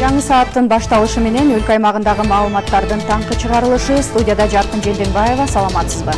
Жаңы сааттын башталышы менен өлкө аймагындагы маалыматтардын таңкы чыгарылышы. Студияда Жаркын Желденбаева, саламатсызбы?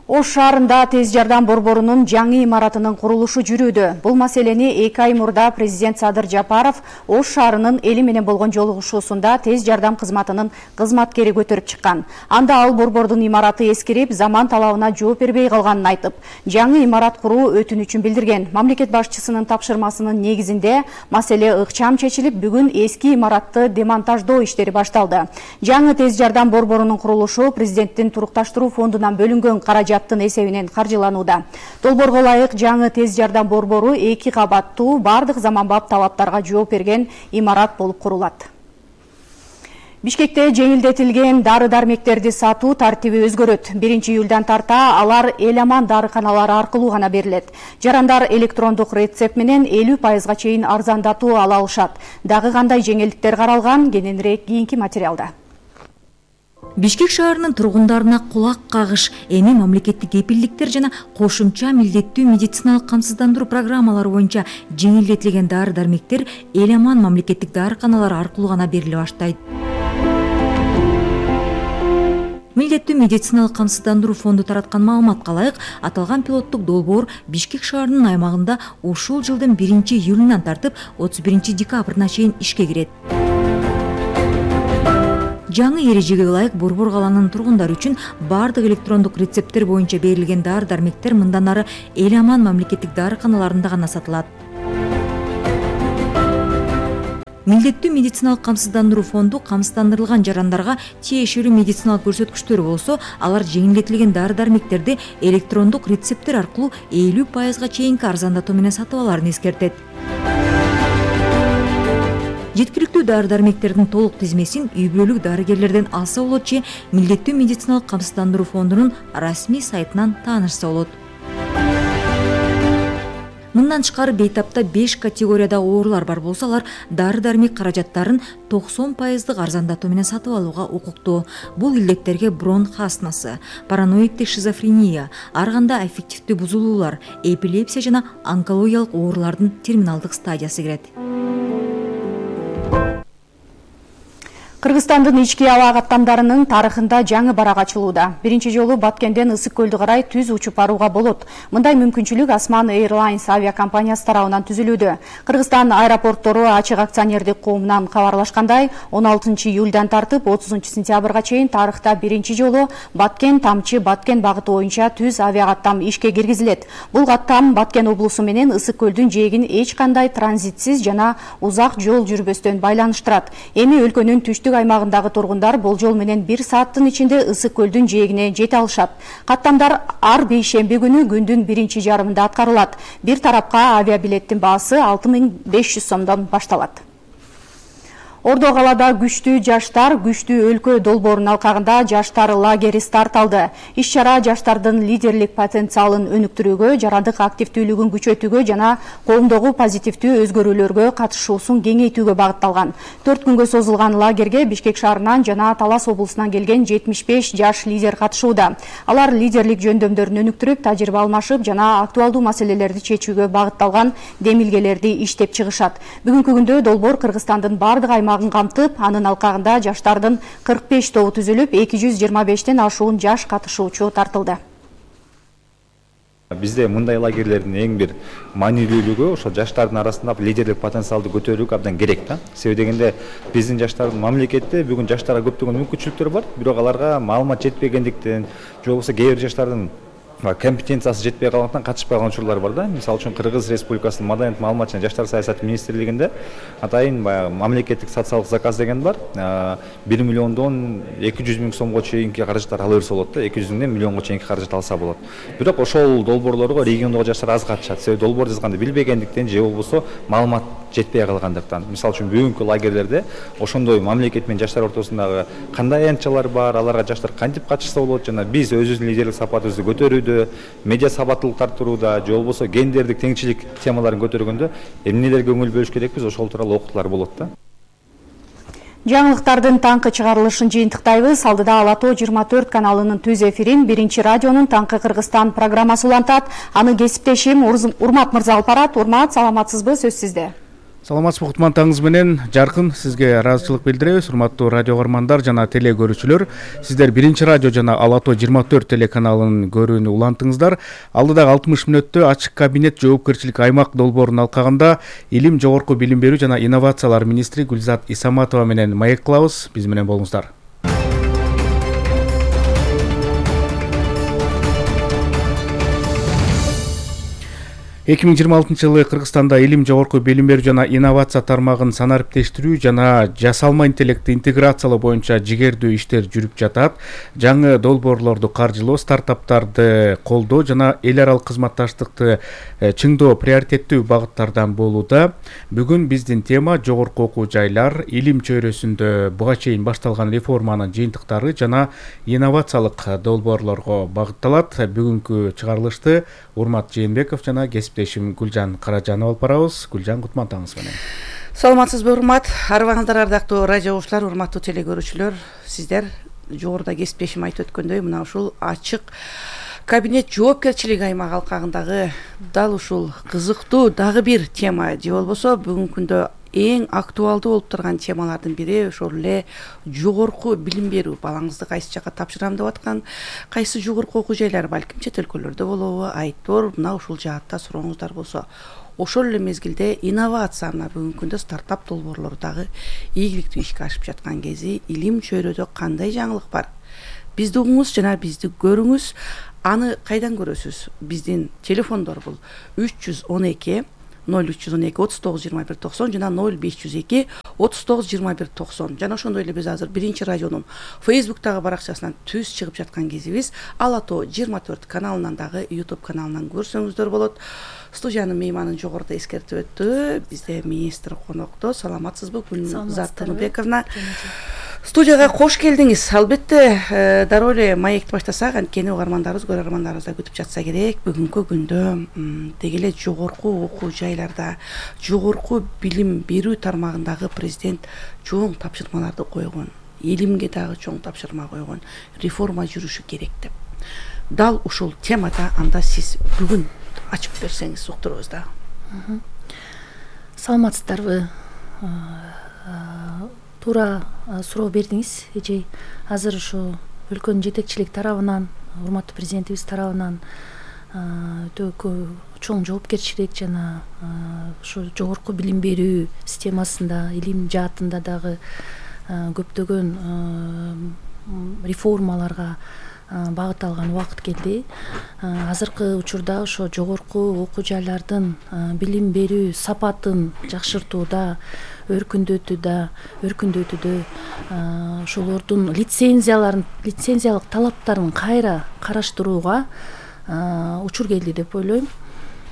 Ош шаарында тез жардам борборунун жаңы имаратынын курулушу жүрүүдө. Бул маселени 2 ай мурда президент Садыр Жапаров Ош шаарынын эли менен болгон жолугушуусунда тез жардам кызматынын кызматкери көтөрүп чыккан. Анда ал борбордун имараты эскирип, заман талабына жооп бербей калганын айтып, жаңы имарат куруу өтүнүчүн билдирген. Мамлекет башчысынын тапшырмасынын негизинде маселе ыкчам чечилип, бүгүн эски имаратты демонтаждоо иштери башталды. Жаңы тез жардам борборунун курулушу президенттин турукташтыруу фондунан бөлүнгөн каражат эсебинен каржыланууда. Долбоорго ылайык жаңы тез жардам борбору 2 кабаттуу бардык заманбап талаптарга жооп берген имарат болуп курулат. Бишкекте жеңилдетилген дары-дармектерди сатуу тартиби өзгөрөт. 1-июлдан тарта алар Эл-Аман дарыканалары аркылуу гана берилет. Жарандар электрондук рецепт менен 50%га чейин арзандатуу ала алышат. Дагы кандай жеңилдиктер каралган, кененирээк кийинки материалда. Бишкек шаарынын тургундарына кулак кагыш, эми мамлекеттик кепилдиктер жана кошумча милдеттүү медициналык камсыздандыруу программалары боюнча жеңилдетилген дары-дармектер Эл-Аман мамлекеттик дарыканалары аркылуу гана бериле баштайт. Милдеттүү медициналык камсыздандыруу фонду тараткан маалыматка ылайык, аталган пилоттук долбоор Бишкек шаарынын аймагында ушул жылдын 1-июлунан тартып 31-декабрына чейин ишке кирет. Жаңы эрежеге ылайык Борбор каланын тургундары үчүн бардык электрондук рецепттер боюнча берилген дары-дармектер мындан ары Эл-Аман мамлекеттик дарыканаларында гана сатылат. Милдеттүү медициналык камсыздандыруу фонду камсыздандырылган жарандарга тиешелүү медициналык көрсөткүчтөр болсо, алар жеңилдетилген дары-дармектерди электрондук рецепттер аркылуу 50%га чейинки арзандатуу менен сатып алаарын эскертет. Жеткиликтүү дары-дармектердин толук тизмесин үй-бүлөлүк дарыгерлерден алса болот же Милдеттүү медициналык камсыздандыруу фондунун расмий сайтынан таанышса болот. Мындан тышкары бейтапта 5 категорияда оорулар бар болсо, алар дары-дармек каражаттарын 90%дык арзандатуу менен сатып алууга укуктуу. Бул илдеттерге бронх астмасы, параноиддик шизофрения, ар кандай аффективдүү бузулуулар, эпилепсия жана онкологиялык оорулардын терминалдык стадиясы кирет. Кыргызстандын ички аба каттамдарынын тарыхында жаңы барак ачылууда. Биринчи жолу Баткенден Ысык көлдү карай түз учуп барууга болот. Мындай мүмкүнчүлүк Осман Airlines авиакомпаниясы тарабынан түзүлүүдө. Кыргызстан аэропорттору ачык акционердик коомунан кабарлашкандай, 16-июлдан тартып 30-сентябрга чейин тарыхта биринчи жолу Баткен-Тамчы Баткен багыты боюнча түз авиакаттам ишке киргизилет. Бул каттам Баткен облусу менен Ысык көлдүн жээгин эч кандай транзитсиз жана узак жол жүрбөстөн байланыштырат. Эми өлкөнүн түштүк аймагындагы тургундар болжол менен 1 сааттын ичинде Ысык көлдүн жээгине жете алышат. Каттамдар ар бейшемби күнү күндүн биринчи жарымында аткарылат. Бир тарапка авиабилеттин баасы 6500 сомдон башталат. Ордо калада күчтүү жаштар күчтүү өлкө долбоорунун алкагында жаштар лагери старт алды. Иш-чара жаштардын лидерлик потенциалын өнүктүрүүгө, жарандык активдүүлүгүн күчөтүүгө жана коомдогу позитивдүү өзгөрүүлөргө катышуусун кеңейтүүгө багытталган. 4 күнгө созулган лагерге Бишкек шаарынан жана Талас облусунан келген 75 жаш лидер катышууда. Алар лидерлик жөндөмдөрүн өнүктүрүп, тажрыйба алмашып жана актуалдуу маселелерди чечүүгө багытталган демилгелерди иштеп чыгышат. Бүгүнкү күндө долбоор Кыргызстандын бардык камтып, анын алкагында жаштардын 45 тобу түзүлүп, 225тен ашуун жаш катышуучу тартылды. Бизде мындай лагерлердин эң бир маанилүүлүгү ошо жаштардын арасында лидерлик потенциалды көтөрүүгө абдан керек да. Себеби дегенде биздин жаштардын мамлекетте бүгүн жаштарга көптөгөн мүмкүнчүлүктөр бар, бирок аларга маалымат жетпегендиктен, же болбосо кээ бир жаштардын компетенциясы жетпей калгандыктан катышпай калган учурлар бар да. Мисалы үчүн Кыргыз Республикасынын Маданият маалымат жана жаштар саясаты министрлигинде атайын мамлекеттик социалдык заказ деген бар. 1 миллиондон 200 миң сомго чейинки каражаттар ала берсе болот да. 200 миңден миллионго чейинки каражат алса болот. Бирок ошол долбоорлорго региондогу жаштар аз катышат. Себеби долбоор жазганды билбегендиктен же болбосо маалымат жетпей калгандыктан. Мисалы үчүн бүгүнкү лагерлерде ошондой мамлекет менен жаштар ортосундагы кандай аянтчалар бар, аларга жаштар кантип катышса болот жана биз өзүбүздүн лидерлик сапатыбызды көтөрүүдө, медиа сабаттуулукту арттырууда, же болбосо гендердик теңчилик темаларын көтөргөндө эмнелерге көңүл бөлүш керекпиз, ошол тууралуу окутуулар болот да. Жаңылыктардын таңкы чыгарылышын жыйынтыктайбыз. Алдыда Ала-Тоо 24 каналынын түз эфирин Биринчи радионун Таңкы Кыргызстан программасы улантат. Аны кесиптешим Урмат мырза алып барат. Урмат, саламатсызбы? Сөз сизде. Саламатсызбы кутман таңыңыз менен жаркын сизге ыраазычылык билдиребиз. Урматтуу радио каармандар жана теле көрүүчүлөр, сиздер Биринчи радио жана Ала-Тоо 24 телеканалын көрүүнү улантыңыздар. Алдыдагы 60 мүнөттө ачык кабинет жоопкерчилик аймак долбоорун алкаганда Илим, жогорку билим берүү жана инновациялар министри Гүлзат Исаматова менен маек кылабыз. Биз менен болуңуздар. 2026 жылы Кыргызстанда илим, жогорку билим берүү жана инновация тармагын санариптештирүү жана жасалма интеллектти интеграциялоо боюнча жигердүү иштер жүрүп жатат. Жаңы долбоорлорду каржылоо, стартаптарды колдоо жана эл аралык кызматташтыкты чыңдоо приоритеттүү багыттардан болууда. Бүгүн биздин тема жогорку окуу жайлар, илим чөйрөсүндө буга чейин башталган реформанын жыйынтыктары жана инновациялык долбоорлорго багытталат. Бүгүнкү чыгарылышты Урмат Жээнбеков жана кесиптешим Гүлжан Каражанова алып барабыз. Гүлжан, кутман таңыңыз менен. Саламатсызбы, урмат. Арыбаңыздар, ардактуу радио угуучулар, урматтуу теле көрүүчүлөр. Сиздер жогоруда кесиптешим айтып өткөндөй, мына ушул ачык кабинет жоопкерчилик аймак алкагындагы дал ушул кызыктуу дагы бир тема же болбосо бүгүнкү күндө эң актуалдуу болуп турган темалардын бири ошол эле жогорку билим берүү. Балаңызды кайсы жака тапшырам деп аткан, кайсы жогорку окуу жайлар, балким чет өлкөлөрдө болобу, айтор мына ушул жаатта сурооңуздар болсо. Ошол эле мезгилде инновация, мына бүгүнкү күндө стартап долбоорлору дагы ийгиликтүү ишке ашып жаткан кези илим чөйрөдө кандай жаңылык бар? Бизди угуңуз жана бизди көрүңүз. Аны кайдан көрөсүз? Биздин телефондор бул 312 0312 39 21 90 жана 0502 39 21 90. Жана ошондой эле биз азыр Биринчи радионун Facebook'тагы баракчасынан түз чыгып жаткан кезибиз Ала-Тоо 24 каналынан дагы YouTube каналынан көрсөңүздөр болот. Студиянын мейманын жогоруда эскертип өттү. Бизде министр конокто. Саламатсызбы, Гүлзат Тыныбековна? Студияга кош келдиңиз. Албетте, дароо эле маекти баштасак, анткени угармандарыбыз, көрөрмандарыбыз да күтүп жатса керек. Бүгүнкү күндө деги эле жогорку окуу жайларда, жогорку билим берүү тармагындагы президент чоң тапшырмаларды койгон. Илимге дагы чоң тапшырма койгон. Реформа жүрүшү керек деп. Дал ушул темада анда сиз бүгүн ачып берсеңиз уктурубуз да. Саламатсыздарбы? Туура суроо бердиңиз. Эже азыр ушу өлкөнүн жетекчилик тарабынан, урматтуу президентибиз тарабынан өтө чоң жоопкерчилик жана ушу жогорку билим берүү системасында, илим жаатында дагы көптөгөн реформаларга багыт алган убакыт келди. Азыркы учурда ошо жогорку окуу жайлардын билим берүү сапатын жакшыртууда, өркүндөтүүдө, ошолордун лицензиялык талаптарын кайра караштырууга учур келди деп ойлойм.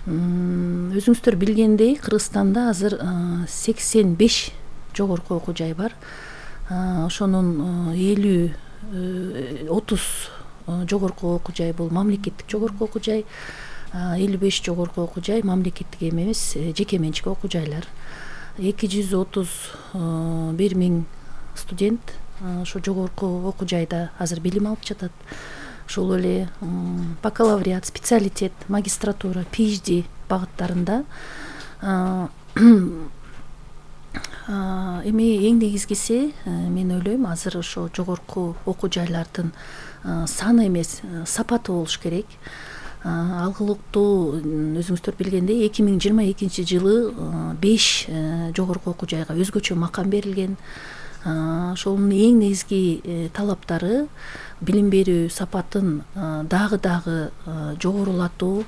Өзүңүздөр билгендей, Кыргызстанда азыр 85 жогорку окуу жай бар. Ошонун 30 жогорку окуу жай бул мамлекеттик жогорку окуу жай, 55 жогорку окуу жай мамлекеттик эмес, жеке менчик окуу жайлар. 231 миң студент ошо жогорку окуу жайда азыр билим алып жатат. Ошол эле бакалавриат, специалитет, магистратура, PhD багыттарында. Эми эң негизгиси, мен ойлойм, азыр ошо жогорку окуу жайлардын саны эмес, сапаты болуш керек. Алгылыктуу, өзүңүздөр билгендей, 2022 жылы 5 жогорку окуу жайга өзгөчө макам берилген. Ошонун эң негизги талаптары билим берүү сапатын дагы жогорулатуу,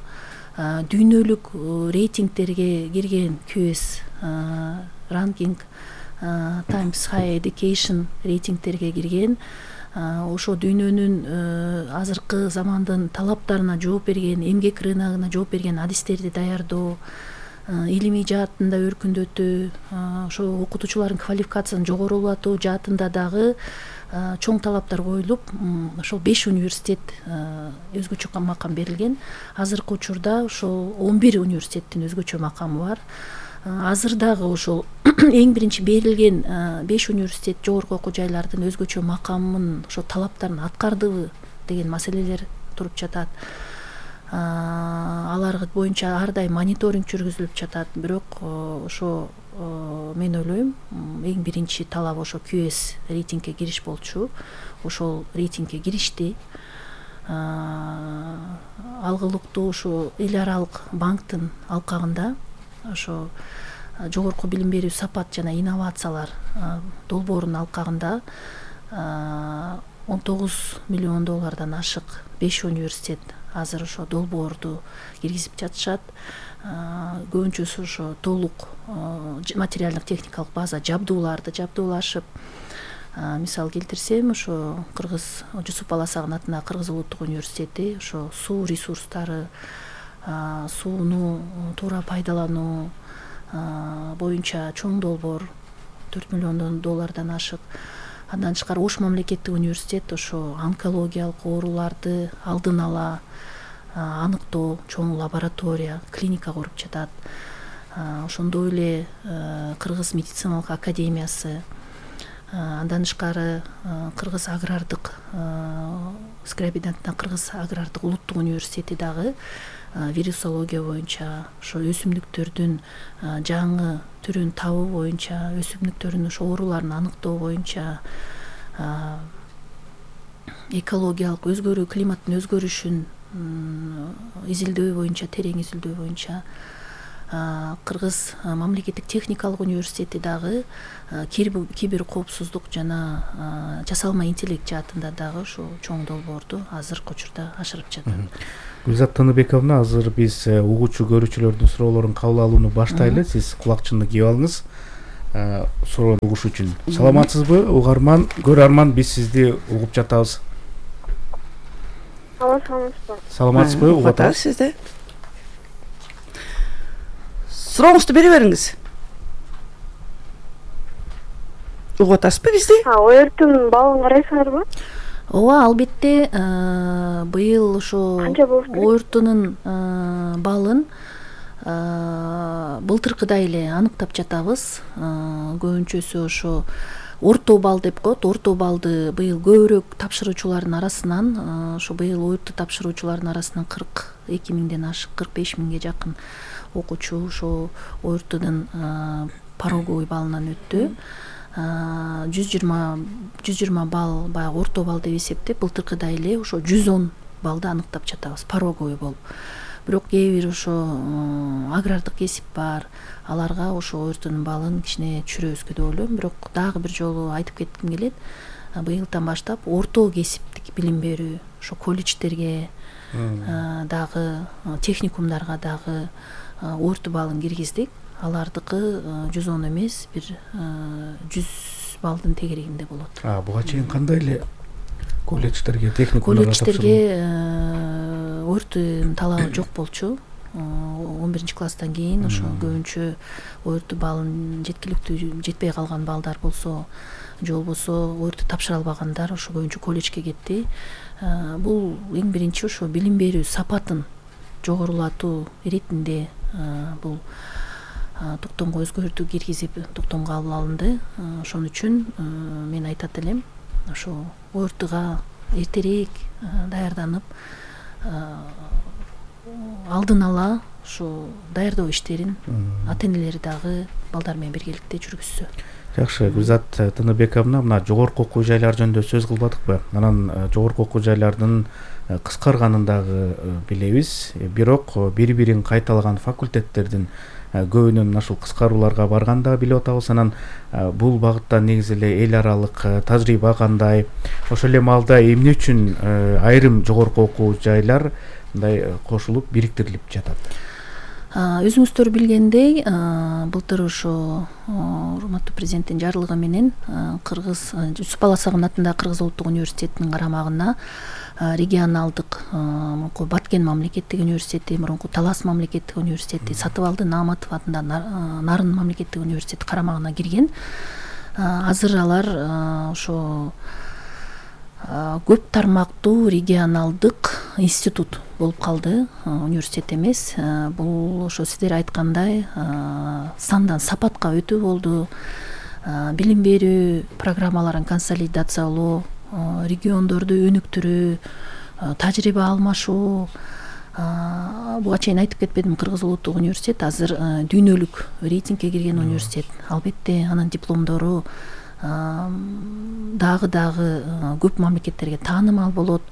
дүйнөлүк рейтингтерге кирген QS ranking, Times Higher Education рейтингтерге кирген, ошо дүйнөнүн азыркы замандын талаптарына жооп берген, эмгек рыногуна жооп берген адистерди даярдоо, илимий жаатында өркүндөтүү, ошо окутуучулардын квалификациясын жогорулатуу жаатында дагы чоң талаптар коюлуп, ошол 5 университет өзгөчө макам берилген. Азыркы учурда ошол 11 университеттин өзгөчө макамы бар. Азыр дагы ошол эң биринчи берилген 5 университет жогорку окуу жайлардын өзгөчө макамын, ошо талаптарын аткардыбы деген маселелер туруп жатат. алар боюнча ар дайым мониторинг жүргүзүлүп жатат. Бирок ошо мен ойлойм эң биринчи талап ошо QS рейтингге кириш болчу. Ошол рейтингге киришти. Алгылыктуу ошо эл аралык банктын алкагында ошо жогорку билим берүү сапат жана инновациялар долбоорунун алкагында $19 миллион ашык 5 университет азыр ошо долбоорду киргизип жатышат. Көбүнчөсү ошо толук материалдык техникалык база жабдуулашып. Мисал келтирсем, ошо Кыргыз Жусуп Баласагын атындагы Кыргыз улуттук университети ошо суу ресурстары, сууну туура пайдалануу боюнча чоң долбоор $4 миллион ашык. Андан тышкары Ош мамлекеттик университет ошо онкологиялык ооруларды алдын ала аныктоо чоң лаборатория, клиника куруп жатат. Ошондой эле Кыргыз медициналык академиясы, андан тышкары Кыргыз агрардык Скрябиновдун Кыргыз агрардык улуттук университети дагы вирусология боюнча, ошо өсүмдүктөрдүн жаңы түрүн табуу боюнча, өсүмдүктөрдүн ошо ооруларын аныктоо боюнча, экологиялык өзгөрүү, климаттын өзгөрүшүн изилдөө боюнча, терең изилдөө боюнча, Кыргыз мамлекеттик техникалык университети дагы кибер коопсуздук жана жасалма интеллект жаатында дагы ошо чоң долбоорду азыркы учурда ашырып жатат. Гүлзат Тыныбековна, азыр биз угуучу көрүүчүлөрдүн суроолорун кабыл алууну баштайлы. Сиз кулакчынды кийип алыңыз суроону угуш үчүн. Саламатсызбы, угарман, көрөрман, биз сизди угуп жатабыз. Саламатсызбы, угуп атабыз сизди. Сурооңузду бере бериңиз. Угуп атасызбы бизди? Өрттүн балын карайсыңарбы? Ооба, албетте, быйыл ошо өрттүнүн балын былтыркыдай эле аныктап жатабыз. Көбүнчөсү ошо орто бал деп коет. Орто балды быйыл көбүрөөк тапшыруучулардын арасынан, ошо быйыл өрттү тапшыруучулардын арасынан 42 миңден ашык, 45 миңге жакын окуучу ошо өрттүнүн пороговый балынан өттү. 120 балл баягы орто бал деп эсептеп, былтыркыдай эле ошо 110 балды аныктап жатабыз, пороговый болуп. Бирок кээ бир ошо агрардык кесип бар, аларга ошо өрттүнүн балын кичине түшүрөбүзгө деп ойлойм. Бирок дагы бир жолу айтып кетким келет. Быйылдан баштап орто кесиптик билим берүү, ошо колледждерге дагы, техникумдарга дагы өрт балын киргиздик. Алардыкы 110 эмес, бир 100 балдын тегерегинде болот. Буга чейин кандай эле колледждерге, техникумдарга колледждерге өрттүн талабы жок болчу. 11 класстан кийин ошо көбүнчө өрт балын жеткиликтүү жетпей калган балдар болсо, же болбосо өрттү тапшыра албагандар ошо көбүнчө колледжге кетти. Бул эң биринчи ошо билим берүү сапатын жогорулатуу иретинде бул токтомго өзгөртүү киргизип токтомго алынды. Ошон үчүн мен айтат элем, ошо өртүгө эртерээк даярданып, алдын ала ошо даярдоо иштерин ата-энелери дагы балдар менен биргеликте жүргүзсө. Жакшы, Гүлзат Тыныбековна, мына жогорку окуу жайлар жөнүндө сөз кылбадыкпы? Анан жогорку окуу жайлардын кыскарганын дагы билебиз. Бирок бири-бирин кайталаган факультеттердин көбүнүн ушул кыскарууларга барганын дагы билип атабыз. Анан бул багытта негизи эле эл аралык тажрыйба кандай? Ошол эле маалда эмне үчүн айрым жогорку окуу жайлар мындай кошулуп бириктирилип жатат? Өзүңүздөр билгендей, былтыр ошо урматтуу президенттин жарлыгы менен Кыргыз Жусуп Баласагын атындагы Кыргыз улуттук университетинин карамагына регионалдык мурунку Баткен мамлекеттик университети, мурунку Талас мамлекеттик университети, Сатыбалды Нааматов атындагы Нарын мамлекеттик университети карамагына кирген. Азыр алар ошо көп тармактуу регионалдык институт болуп калды, университет эмес. Бул ошо сиздер айткандай сандан сапатка өтүү болду. Билим берүү программаларын консолидациялоо, региондорду өнүктүрүү, тажрыйба алмашуу, Буга чейин айтып кетпедим, Кыргыз улуттук университет азыр дүйнөлүк рейтингге кирген университет. Албетте анын дипломдору дагы көп мамлекеттерге таанымал болот.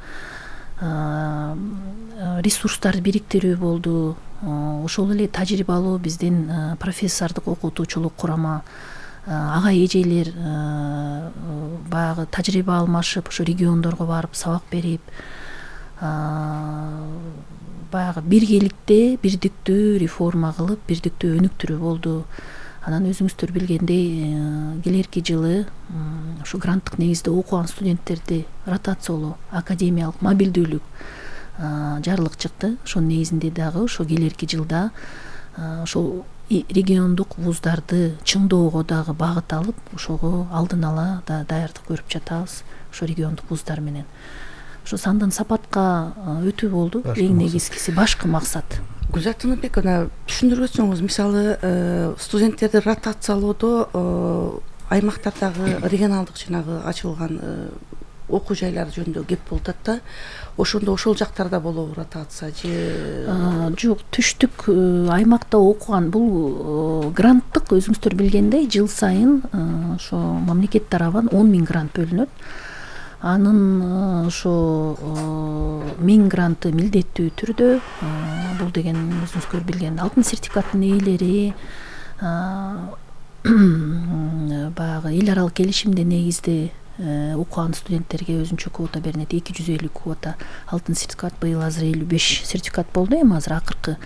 Ресурстарды бириктирүү болду. Ошол эле тажрыйбалуу биздин профессордук окутуучулук курама, ага эжелер баягы тажрыйба алмашып, ошо региондорго барып сабак берип, баягы биргеликте бирдиктүү реформа кылып, бирдиктүү өнүктүрүү болду. Анан өзүңүздөр билгендей, келерки жылы ушу гранттык негизде окуган студенттерди ротациялоо, академиялык мобилдүүлүк жарлык чыкты. Ошонун негизинде дагы ошо келерки жылда ошол региондук вуздарды чыңдоого дагы багыт алып, ошого алдын ала да даярдык көрүп жатабыз ошо региондук вуздар менен. Ошо сандан сапатка өтүү болду. Эң негизгиси башкы максат. Гүлзат Тыныбек, түшүндүрүп өтсөңүз, мисалы студенттерди ротациялоодо аймактардагы регионалдык жанагы ачылган окуу жайлар жөнүндө кеп болуп атат да. Ошондо ошол жактарда болобу ротация же? Жок, түштүк аймакта окуган бул гранттык, өзүңүздөр билгендей, жыл сайын ошо мамлекет тарабынан 10 000 грант бөлүнөт. Анын ошо 1000 гранты милдеттүү түрдө, бул деген өзүңүздөр билген алтын сертификаттын ээлери, баягы эл аралык келишимде негизде окуган студенттерге өзүнчө квота берилет, 250 квота алтын сертификат. Быйыл азыр 55 сертификат болду. Эми азыр акыркы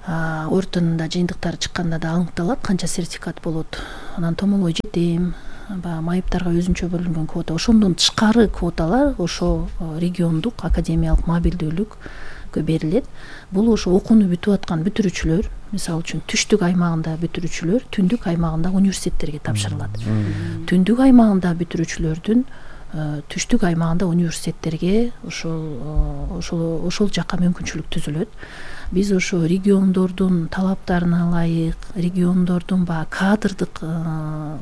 ортонунда жыйынтыктары чыкканда да аныкталат канча сертификат болот. Анан томолой жетем, майыптарга өзүнчө бөлүнгөн квота. Ошондон тышкары квоталар ошо региондук академиялык мобилдүүлүккө берилет. Бул ошо окууну бүтүп аткан бүтүрүүчүлөр, мисалы үчүн түштүк аймагында бүтүрүүчүлөр түндүк аймагында университеттерге тапшырылат. Түндүк аймагында бүтүрүүчүлөрдүн түштүк аймагында университеттерге ошол жака мүмкүнчүлүк түзүлөт. Биз ошо региондордун талаптарына ылайык, региондордун баягы кадрдык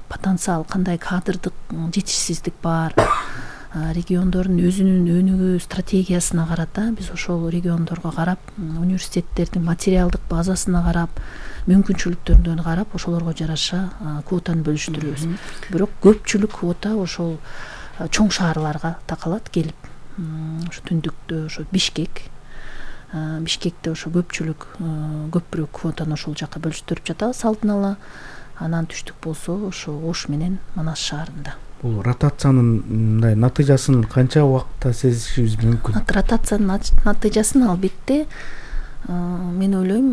потенциал, кандай кадрдык жетишсиздик бар, региондордун өзүнүн өнүгүү стратегиясына карата биз ошол региондорго карап, университеттердин материалдык базасына карап, мүмкүнчүлүктөрүнө карап, ошолорго жараша квотаны бөлүштүрөбүз. Бирок көпчүлүк квота ошол чоң шаарларга такалат келип. Ошо түндүктө ошо Бишкекте ошо көпүрөөк квотаны ошол жака бөлүштүрүп жатабыз алдын ала. Анан түштүк болсо ошо Ош менен Манас шаарында. Бул ротациянын мындай натыйжасын канча убакытта сезишибиз мүмкүн? Ротациянын натыйжасын албетте мен ойлойм,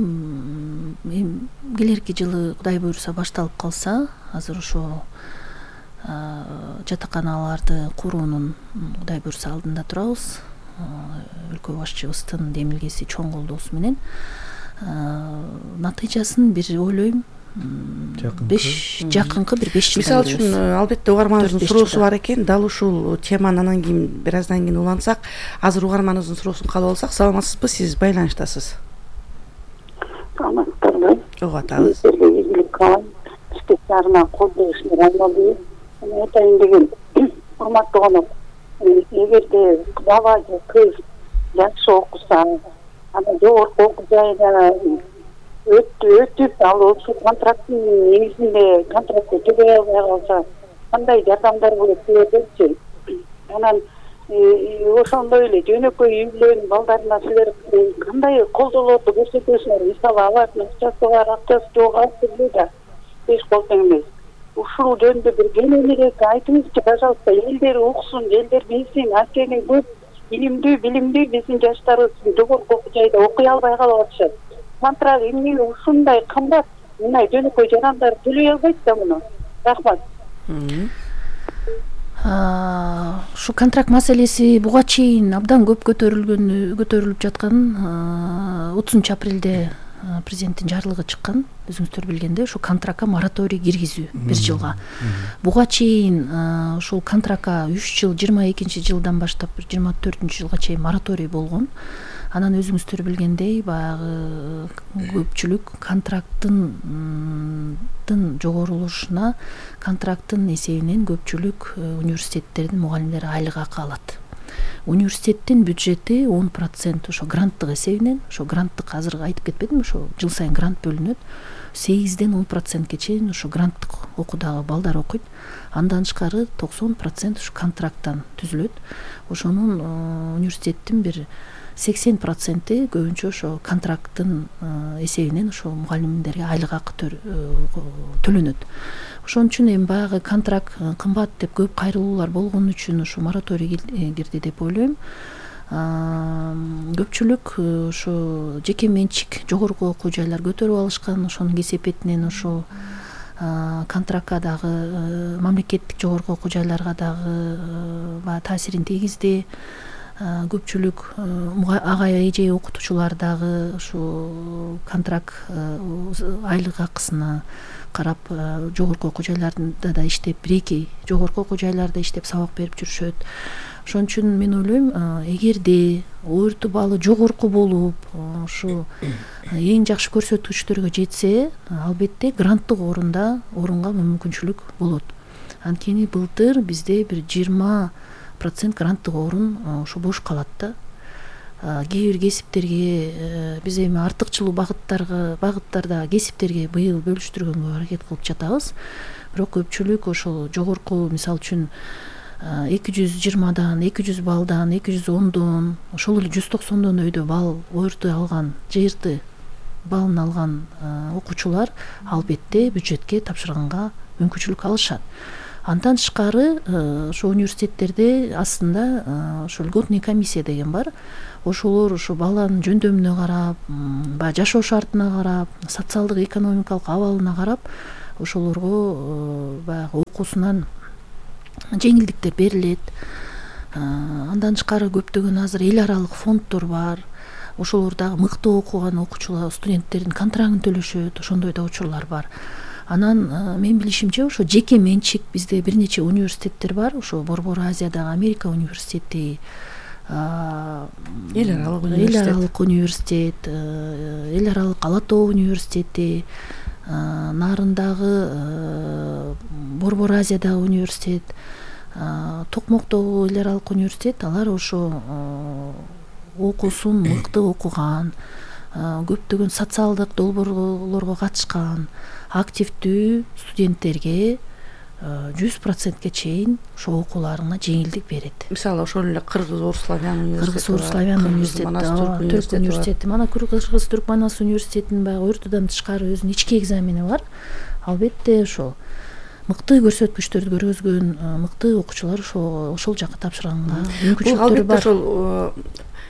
келерки жылы Кудай буйруса башталып калса, азыр ошо жатаканаларды куруунун Кудай буйруса алдында турабыз. Өлкө башчыбыздын демилгеси чоң колдоосу менен натыйжасын бир ойлойм жакынкы бир 5 жылдан. Мисалы үчүн албетте угарманыбыздын суроосу бар экен. Дал ушул теманы анан кийин бир аздан кийин улантсак, азыр угарманыбыздын суроосун кабыл алсак. Саламатсызбы, сиз байланыштасыз? Саламатсызбы? Ого, атабыз. Ийгилик каалайм. Специалына колдошуңар айналды. Айтайын деген, урматтуу конок, эгерде бала же кыз жакшы окуса, анан жогорку окуу жайына өтүп, ал ушул контракттын негизинде контрактты төлөй албай калса, кандай жардамдар болот силердечи? Анан ошондой эле жөнөкөй үйлөрдүн балдарына силер кандай колдоолорду көрсөтөсүңөр? Мисалы, алардын акчасы бар, акчасы жок, азыр да 5 кол тең эмес. Ушул жөнүндө бир кененирээк айтыңызчы, пожалуйста. Элдер уксун, элдер билсин. Анткени көп билимдүү биздин жаштарыбыз жогорку окуу жайда окуй албай калып атышат. Контракт эмне ушундай кымбат, мындай жөнөкөй жарандар төлөй албайт да муну. Рахмат. Ушу контракт маселеси буга чейин абдан көп көтөрүлүп жаткан. 30 апрелде президенттин жарлыгы чыккан, өзүңүздөр билгендей, ошо контрактка мораторий киргизүү 1 жылга. Буга чейин ошол контрактка 3 жыл, 22-жылдан баштап 24-жылга чейин мораторий болгон. Анан өзүңүздөр билгендей, баягы көпчүлүк контракттын жогорулушуна, контракттын эсебинен көпчүлүк университеттердин мугалимдери айлык акы алат. Университеттин бюджети 10% ошо гранттык эсебинен, ошо гранттык азыр айтып кетпедимби, ошо жыл сайын грант бөлүнөт. 8ден 10%ке чейин ошо гранттык окуудагы балдар окуйт. Андан тышкары 90% ушу контракттан түзүлөт. Ошонун университеттин бир 80% көбүнчө ошо контракттын эсебинен ошо мугалимдерге айлык акы төлөнөт. Ошон үчүн эми баягы контракт кымбат деп көп кайрылуулар болгон үчүн ушу мораторий кирди деп ойлойм. Көпчүлүк ошо жеке менчик жогорку окуу жайлар көтөрүп алышкан, ошонун кесепетинен ошо контрактка дагы мамлекеттик жогорку окуу жайларга дагы таасирин тийгизди. Көпчүлүк ага эже окутуучулар дагы ушу контракт айлык акысына карап жогорку окуу жайларда да иштеп, бир-эки жогорку окуу жайларда иштеп сабак берип жүрүшөт. Ошон үчүн мен ойлойм, эгерде өртү баалы жогорку болуп, ушу эң жакшы көрсөткүчтөргө жетсе, албетте гранттык орунга мүмкүнчүлүк болот. Анткени былтыр бизде бир 20% гранттык орун ушу бош калат да. Кээ бир кесиптерге биз эми артыкчылуу багыттарда кесиптерге быйыл бөлүштүргөнгө аракет кылып жатабыз. Бирок көпчүлүк ошол жогорку, мисалы үчүн 220дан, 200 баллдан, 210дон, ошол эле 190дон өйдө балл өртү алган, жыйырты баллын алган окуучулар албетте бюджетке тапшырганга мүмкүнчүлүк алышат. Андан тышкары ошо университеттерде астында ошо льготный комиссия деген бар. Ошолор ошо баланын жөндөмүнө карап, баягы жашоо шартына карап, социалдык экономикалык абалына карап, ошолорго баягы окуусунан жеңилдиктер берилет. Андан тышкары көптөгөн азыр эл аралык фонддор бар. Ошолор дагы мыкты окуган окуучулар, студенттердин контрагын төлөшөт, ошондой да учурлар бар. Анан мен билишимче ошо жеке менчик бизде бир нече университеттер бар. Ошо Борбор Азиядагы Америка университети, эл аралык университет, эл аралык Ала Тоо университети, нарындагы Борбор Азиядагы университет, Токмоктогу эл аралык университет, алар ошо окуусун мыкты окуган, көптөгөн социалдык долбоорлорго катышкан активдүү студенттерге 100%ке чейин ошо окууларына жеңилдик берет. Мисалы ошол эле Кыргыз-Орус-Славян университети, Түрк университети, мана Кыргыз-Түрк Манас университетинин баягы өртүдан тышкары өзүнүн ички экзамени бар. Албетте ошо мыкты көрсөткүчтөрдү көргөзгөн мыкты окуучулар ошол жакка тапшырганга мүмкүнчүлүктөр бар. Ошол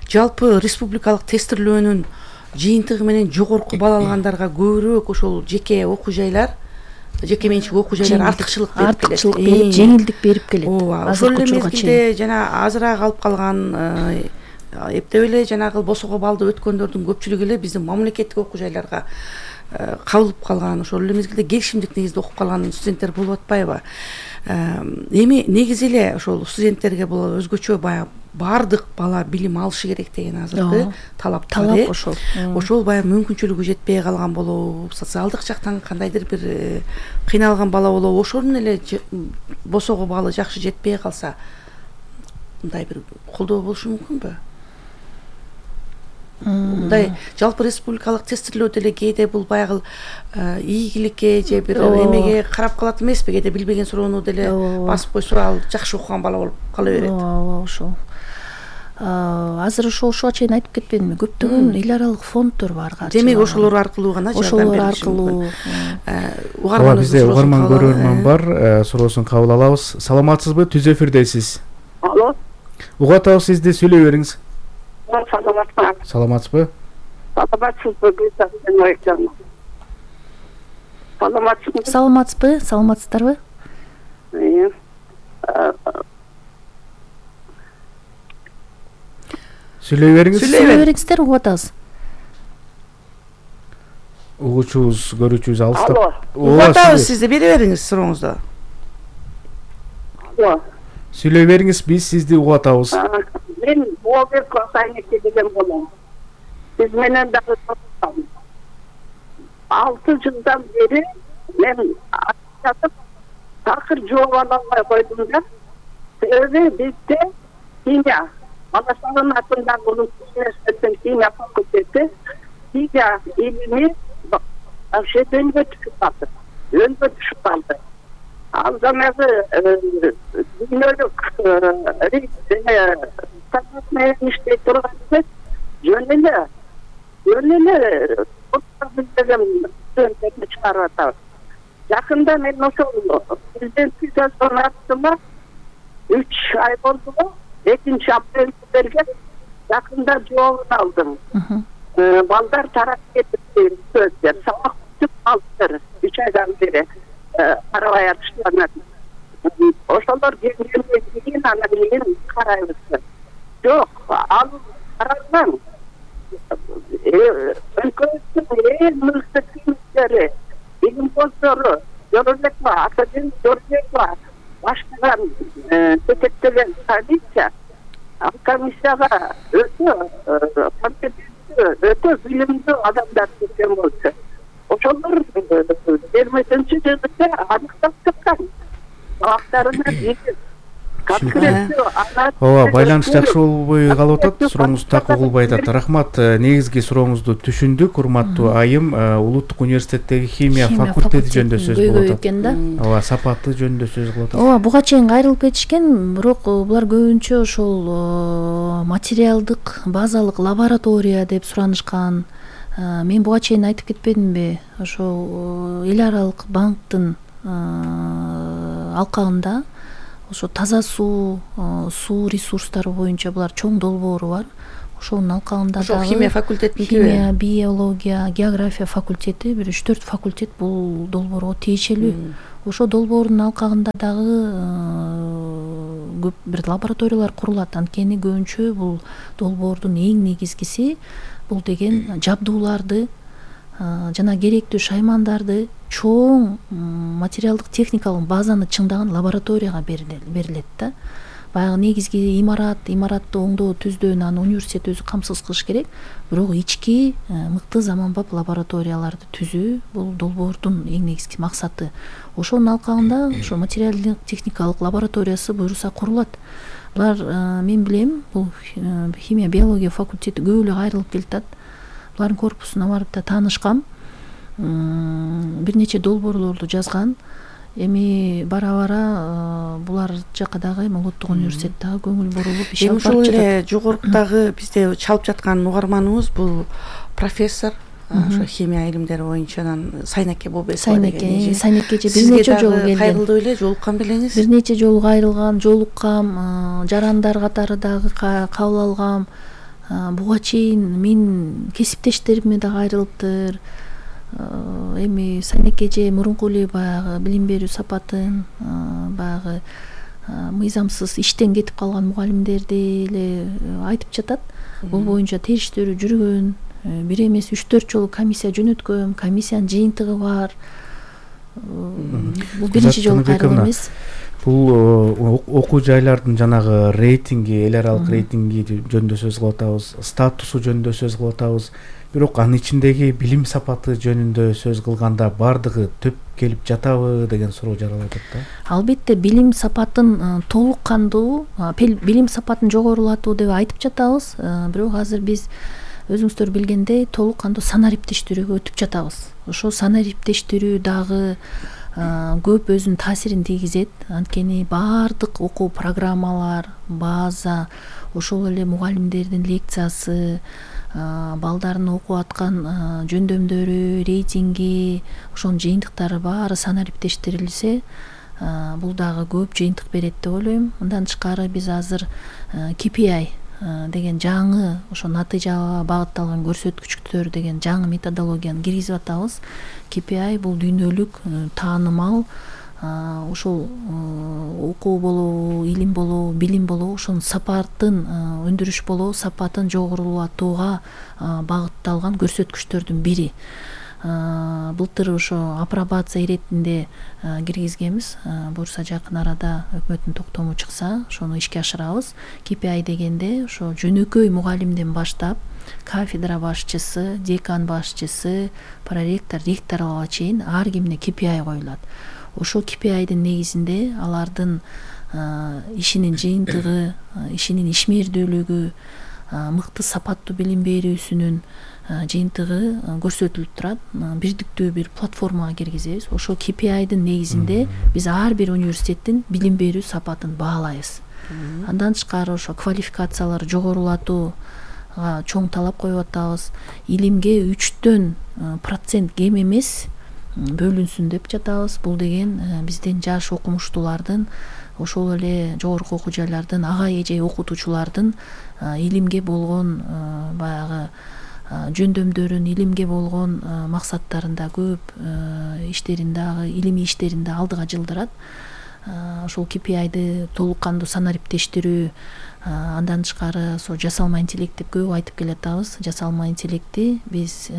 жалпы республикалык тестирлөөнүн жыйынтыгы менен жогорку балл алгандарга көбүрөөк ошол жеке окуу жайлар, жеке менчик окуу жайлар артыкчылык берип, жеңилдик берип келет. Ошол эле мезгилде жана азыраак алып калган, эптеп эле жанагы босого балды өткөндөрдүн көпчүлүгү эле биздин мамлекеттик окуу жайларга кабылып калган, ошол эле мезгилде келишимдик негизде окуп калган студенттер болуп атпайбы? Эми негизи эле ошол студенттерге бул өзгөчө баягы баардык бала билим алышы керек деген азыркы талап ошол. Ошол баягы мүмкүнчүлүгү жетпей калган болобу, социалдык жактан кандайдыр бир кыйналган бала болобу, ошонун эле босого баллы жакшы жетпей калса, мындай бир колдоо болушу мүмкүнбү? Мындай жалпы республикалык тестирлөөдө эле кээде бул баягы ийгиликке же бир эмеге карап калат эмеспи? Кээде билбеген суроону деле басып койсо, ал жакшы окуган бала болуп кала берет. Ошол. Азыр ошого чейин айтып кетпедимби? Көптөгөн эл аралык фонддор бар. Демек ошолор аркылуу гана жардам берилиши мүмкүн. Ооба, бизде угарман көрөрман бар, суроосун кабыл алабыз. Саламатсызбы? Түз эфирдесиз. Алло. Угуп атабыз, сизди, сүйлөй бериңиз. Саламатсызбы? Саламатсызбы? Саламатсызбы? Саламатсыздарбы? Сүйлөй бериңиздер, угуп атабыз. Угуучубуз, көрүүчүбүз алыста. Угуп атабыз, сизди бере бериңиз сурооңузду. Сүйлөй бериңиз, биз сизди угуп атабыз. Мен Болбек Косайнеке деген болом. Биз менен дагы 6 жылдан бери мен жатып такыр жооп ала албай койдум да. Себеби бизде химия Бала Шаган атындагы улуттук университеттин химия факультети химия илими вообще жөнгө түшүп калды. Ал жанагы дүйнөлүк сапат менен иштей турган жөн эле деген студенттерди чыгарып атабыз. Жакында мен ошол президенттик жазган аттыма 3 ай болду го, 2-апрелде берген, жакында жообун алдым. Балдар тарап кетип сөздөр, сабак бүтүп калдыр, 3 айдан бери карабай атышкан. Ошолор келгенден кийин анан кийин карайбыз. Жок, ал каралган. Өлкөбүздүн эң мыкты кийимчилери, илимпоздору, Жорабекова, Академик Жорабекова баштаган жетектеген комиссия, ал комиссияга өтө компетенттүү, өтө билимдүү адамдар келген болчу. Ошолор 20-жылда аныктап чыккан. Сабактарына ооба, байланыш жакшы болбой калып атат, сурооңуз так угулбай атат. Рахмат, негизги сурооңузду түшүндүк, урматтуу айым. Улуттук университеттеги химия факультети жөнүндө сөз болуп атат. Ооба, сапаты жөнүндө сөз кылып атат. Ооба, буга чейин кайрылып кетишкен, бирок булар көбүнчө ошол материалдык базалык лаборатория деп суранышкан. Мен буга чейин айтып кетпедимби? Ошол эл аралык банктын алкагында ошо таза суу ресурстары боюнча булар чоң долбоору бар. Ошонун алкагында дагы химия факультетинин химия, биология, география факультети, бир 3-4 факультет бул долбоорго тиешелүү. Ошо долбоордун алкагында дагы көп бир лабораториялар курулат. Анткени көбүнчө бул долбоордун эң негизгиси бул деген жабдууларды жана керектүү шаймандарды чоң материалдык техникалык базаны чыңдаган лабораторияга берилет да. Баягы негизги имаратты оңдоо түздөө аны университет өзү камсыз кылыш керек. Бирок ички мыкты заманбап лабораторияларды түзүү бул долбоордун эң негизги максаты. Ошонун алкагында ошо материалдык техникалык лабораториясы буюрса курулат. Булар мен билем, бул химия биология факультети көп эле кайрылып келатат. Булардын корпусуна барып да таанышкам. Бир нече долбоорлорду жазган. Эми бара булар жака дагы улуттук университет дагы көңүл бурулуп иш алып ошол жатат. эле жогорудагы бизде чалып жаткан угарманыбыз бул профессор ошо химия илимдери боюнча Сайнеке Бобекова деген. Сайнеке бир нече жолу келген. Кайрылдуу эле жолуккан белеңиз? Бир нече жолу кайрылган, жолуккам, жарандар катары дагы кабыл алгам. Буга чейин мен кесиптештериме да кайрылыптыр. Эми Сайнеке эже мурунку эле баягы билим берүү сапатын, баягы мыйзамсыз иштен кетип калган мугалимдерди эле айтып жатат. Бул боюнча териштирүү жүргөн, бир эмес 3-4 жолу комиссия жөнөткөн, комиссиянын жыйынтыгы бар. Бул биринчи жолу кайрылуу эмес. Бул окуу жайлардын жанагы рейтинги, эл аралык рейтинги жөнүндө сөз кылып атабыз, статусу жөнүндө сөз кылып атабыз. Бирок анын ичиндеги билим сапаты жөнүндө сөз кылганда бардыгы төп келип жатабы деген суроо жаралып атат да. Албетте билим сапатын толук кандуу, билим сапатын жогорулатуу деп айтып жатабыз. Бирок азыр биз өзүңүздөр билгендей толук кандуу санариптештирүүгө өтүп жатабыз. Ошо санариптештирүү дагы көп өзүнүн таасирин тийгизет. Анткени баардык окуу программалар, база, ошол эле мугалимдердин лекциясы, балдардын окуп аткан жөндөмдөрү, рейтинги, ошонун жыйынтыктары баары санариптештирилсе, бул дагы көп жыйынтык берет деп ойлойм. Мындан тышкары биз азыр KPI деген жаңы ошо натыйжага багытталган көрсөткүчтөр деген жаңы методологияны киргизип атабыз. KPI бул дүйнөлүк таанымал ошол окуу болобу, илим болобу, билим болобу, ошонун сапатын өндүрүш болобу, сапатын жогорулатууга багытталган көрсөткүчтөрдүн бири. Былтыр ошо апробация иретинде киргизгенбиз. Буюрса жакын арада өкмөттүн токтому чыкса, ошону ишке ашырабыз. KPI дегенде ошо жөнөкөй мугалимден баштап кафедра башчысы, декан башчысы, проректор, ректорго чейин ар кимине KPI коюлат. Ошол KPI'дин негизинде алардын ишинин жыйынтыгы, ишинин ишмердүүлүгү, мыкты сапаттуу билим берүүсүнүн жыйынтыгы көрсөтүлүп турат. Бирдиктүү бир платформага киргизебиз. Ошол KPI-дын негизинде биз ар бир университеттин билим берүү сапатын баалайбыз. Андан тышкары ошо квалификацияларды жогорулатууга чоң талап коюп атабыз. Илимге 3% кем эмес бөлүнсүн деп жатабыз. Бул деген биздин жаш окумуштуулардын, ошол эле жогорку окуу жайлардын ага эже окутуучулардын илимге болгон баягы жөндөмдөрүн, илимге болгон максаттарында көп иштерин дагы, илимий иштерин да алдыга жылдырат. Ошол KPI-ды толук кандуу санариптештирүү, андан тышкары ошо жасалма интеллект деп көп айтып келатабыз. Жасалма интеллекти биз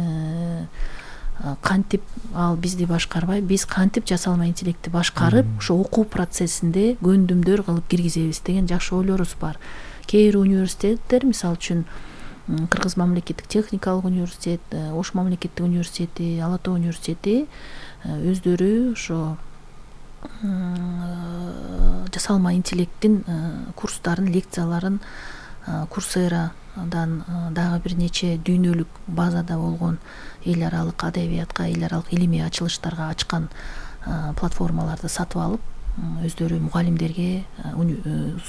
кантип, ал бизди башкарбай, биз кантип жасалма интеллектти башкарып, ошо окуу процессинде көндүмдөр кылып киргизебиз деген жакшы ойлорубуз бар. Кээ бир университеттер, мисалы үчүн Кыргыз мамлекеттик техникалык университет, Ош мамлекеттик университети, Ала Тоо университети өздөрү ошо жасалма интеллекттин курстарын, лекцияларын Курсерадан дагы бир нече дүйнөлүк базада болгон эл аралык адабиятка, эл аралык илимий ачылыштарга ачкан платформаларды сатып алып, өздөрү мугалимдерге,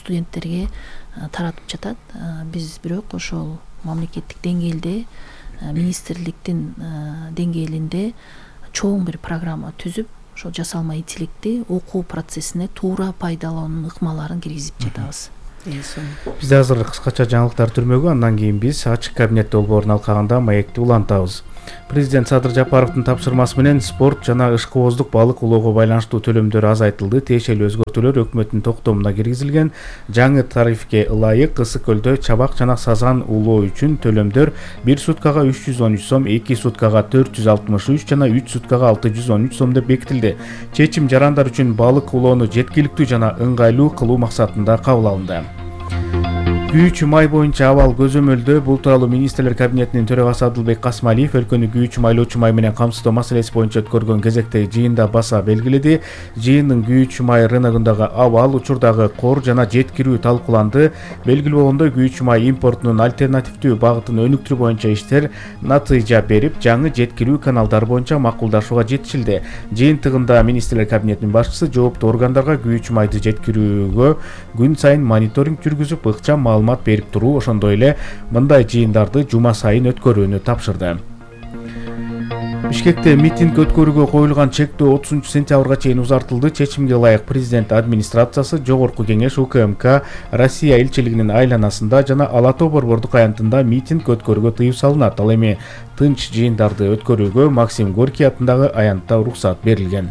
студенттерге таратып жатат. Биз бирок ошол мамлекеттик деңгээлде, министрликтин деңгээлинде чоң бир программа түзүп, ошол жасалма интеллектти окуу процессине туура пайдалануунун ыкмаларын киргизип жатабыз. Бизде азыр кыскача жаңылыктар түрмөгү, андан кийин биз ачык кабинет долбоорун алкагында маекти улантабыз. Президент Садыр Жапаровдун тапшырмасы менен спорт жана ышкыбоздук балык улоого байланыштуу төлөмдөр азайтылды. Тиешелүү өзгөртүүлөр өкмөттүн токтомуна киргизилген. Жаңы тарифке ылайык Ысык көлдө чабак жана сазан улоо үчүн төлөмдөр 1 суткага 313 сом, 2 суткага 463 жана 3 суткага 613 сом деп бекитилди. Чечим жарандар үчүн балык улоону жеткиликтүү жана ыңгайлуу кылуу максатында кабыл алынды. Күйүүчү май боюнча абал көзөмөлдөө. Бул тууралуу министрлер кабинетинин төрагасы Абдылбек Касмалиев өлкөнү күйүүчү майлоочу май менен камсыздоо маселеси боюнча өткөргөн кезектеги жыйында баса белгиледи. Жыйындын күйүүчү май рыногундагы абал, учурдагы кор жана жеткирүү талкууланды. Белгилүү болгондой, күйүүчү май импортунун альтернативдүү багытын өнүктүрүү боюнча иштер натыйжа берип, жаңы жеткирүү каналдары боюнча макулдашууга жетишилди. Жыйынтыгында министрлер кабинетинин башчысы жооптуу органдарга күйүүчү майды жеткирүүгө күн сайын мониторинг жүргүзүп, ыкчам маалымат берип туруу, ошондой эле мындай жыйындарды жума сайын өткөрүүнү тапшырды. Бишкекте митинг өткөрүүгө коюлган чектөө 30 сентябрга чейин узартылды. Чечимге ылайык президент администрациясы, Жогорку кеңеш, УКМК, Россия элчилигинин айланасында жана Ала Тоо борбордук аянтында митинг өткөрүүгө тыюу салынат. Ал эми тынч жыйындарды өткөрүүгө Максим Горький атындагы аянтта уруксат берилген.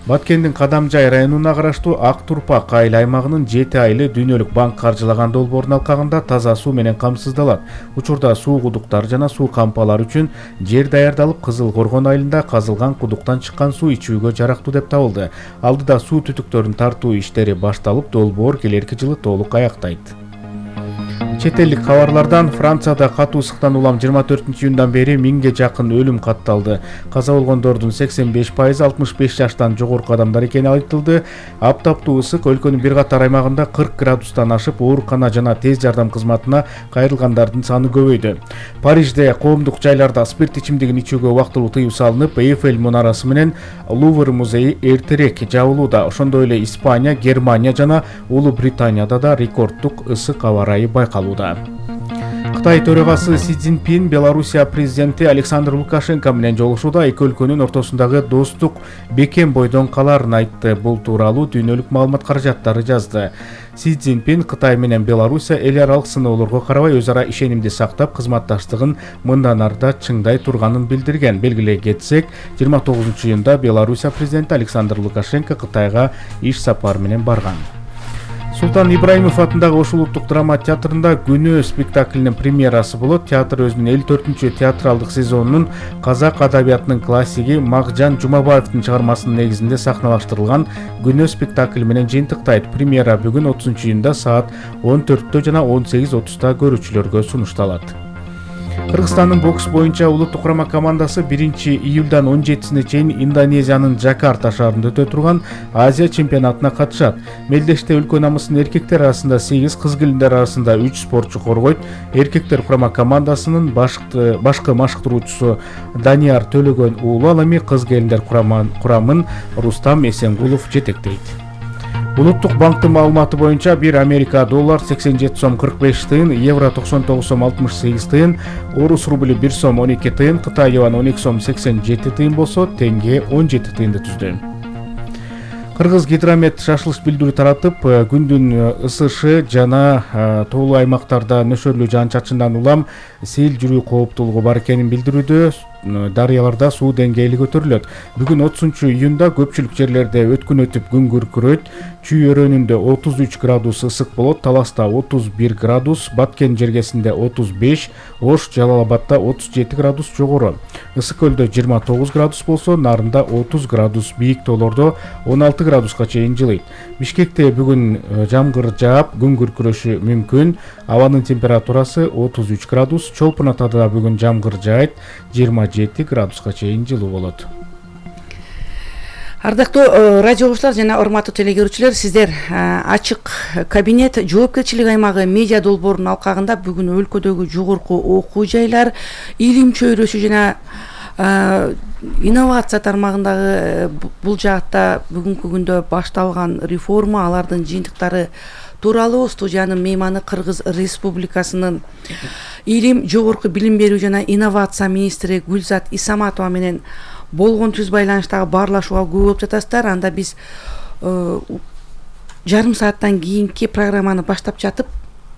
Баткендин Кадамжай районуна караштуу Ак Турпак айыл аймагынын 7 айылы дүйнөлүк банк каржылаган долбоорун алкагында таза суу менен камсыздалат. Учурда суу кудуктары жана суу кампалары үчүн жер даярдалып, Кызыл Коргон айылында казылган кудуктан чыккан суу ичүүгө жарактуу деп табылды. Алдыда суу түтүктөрүн тартуу иштери башталып, долбоор келерки жылы толук аяктайт. Чет элдик кабарлардан Францияда катуу ысыктан улам 24-июндан бери 1000ге жакын өлүм катталды. Каза болгондордун 85% 65 жаштан жогорку адамдар экени айтылды. Аптаптуу ысык өлкөнүн бир катар аймагында 40 градустан ашып, оорукана жана тез жардам кызматына кайрылгандардын саны көбөйдү. Парижде коомдук жайларда спирт ичимдигин ичүүгө убактылуу тыюу салынып, Эйфель мунарасы менен Лувр музейи эртерээк жабылууда. Ошондой эле Испания, Германия жана Улуу Британияда да рекорддук ысык аба ырайы байкалууда. Кытай төрагасы Си Цзиньпин Белоруссия президенти Александр Лукашенко менен жолугушууда эки өлкөнүн ортосундагы достук бекем бойдон каларын айтты. Бул тууралуу дүйнөлүк маалымат каражаттары жазды. Си Цзиньпин Кытай менен Белоруссия эл аралык сыноолорго карабай өз ара ишенимди сактап, кызматташтыгын мындан арда чыңдай турганын билдирген. Белгилей кетсек, 29-июнда Белоруссия президенти Александр Лукашенко Кытайга иш сапары менен барган. Султан Ибраимов атындагы Ош улуттук драма театрында Күнөө спектаклинин премьерасы болот. Театр өзүнүн 54-чү театралдык сезонунун казак адабиятынын классиги Макжан Жумабаевдин чыгармасынын негизинде сахналаштырылган Күнөө спектакли менен жыйынтыктайт. Премьера бүгүн 30-июнда саат 14 жана 18:30 көрүүчүлөргө сунушталат. Кыргызстандын бокс боюнча улуттук курама командасы 1-июлдан 17-сине чейин Индонезиянын Жакарта шаарында өтө турган Азия чемпионатына катышат. Мелдеште өлкө намысын эркектер арасында 8, кыз келиндер арасында 3 спортчу коргойт. Эркектер курама командасынын башкы машыктыруучусу Данияр Төлөгөн уулу, ал эми кыз келиндер курамын Рустам Эсенгулов жетектейт. Улуттук банктын маалыматы боюнча 1 Америка доллар 87 сом 45 тыйын, евро 99 сом 68 тыйын, орус рубли 1 сом 12 тыйын, Кытай юан 12 сом 87 тыйын болсо, теңге 17 тыйынды түздү. Кыргыз гидромет шашылыш билдирүү таратып, күндүн ысышы жана тоолуу аймактарда нөшөрлүү жаан-чачындан улам сел жүрүү кооптуулугу бар экенин билдирүүдө. Дарыяларда суу деңгээли көтөрүлөт. Бүгүн 30-июнда көпчүлүк жерлерде өткүн өтүп күн күркүрөйт. Чүй өрөөнүндө 33 градус ысык болот, Таласта 31 градус, Баткен жергесинде 35, Ош, Жалалабадда 37 градус жогору. Ысык көлдө 29 градус болсо, Нарында 30 градус, бийик тоолордо 16 градуска чейин жылыйт. Бишкекте бүгүн жамгыр жаап, күн күркүрөшү мүмкүн. Абанын температурасы 33 градус, Чолпон Атада бүгүн жамгыр жаайт, 27 градуска чейин жылуу болот. Ардактуу радио угуучулар жана урматтуу телегөрүүчүлөр, сиздер ачык кабинет жоопкерчилик аймагы медиа долбоорунун алкагында бүгүн өлкөдөгү жогорку окуу жайлар, илим чөйрөсү жана инновация тармагындагы бул жаатта бүгүнкү күндө башталган реформа, алардын жыйынтыктары тууралуу студиянын мейманы Кыргыз Республикасынын илим, жогорку билим берүү жана инновация министри Гүлзат Исаматова менен болгон түз байланыштагы баарлашууга күбө болуп жатасыздар. Анда биз жарым сааттан кийинки программаны баштап жатып,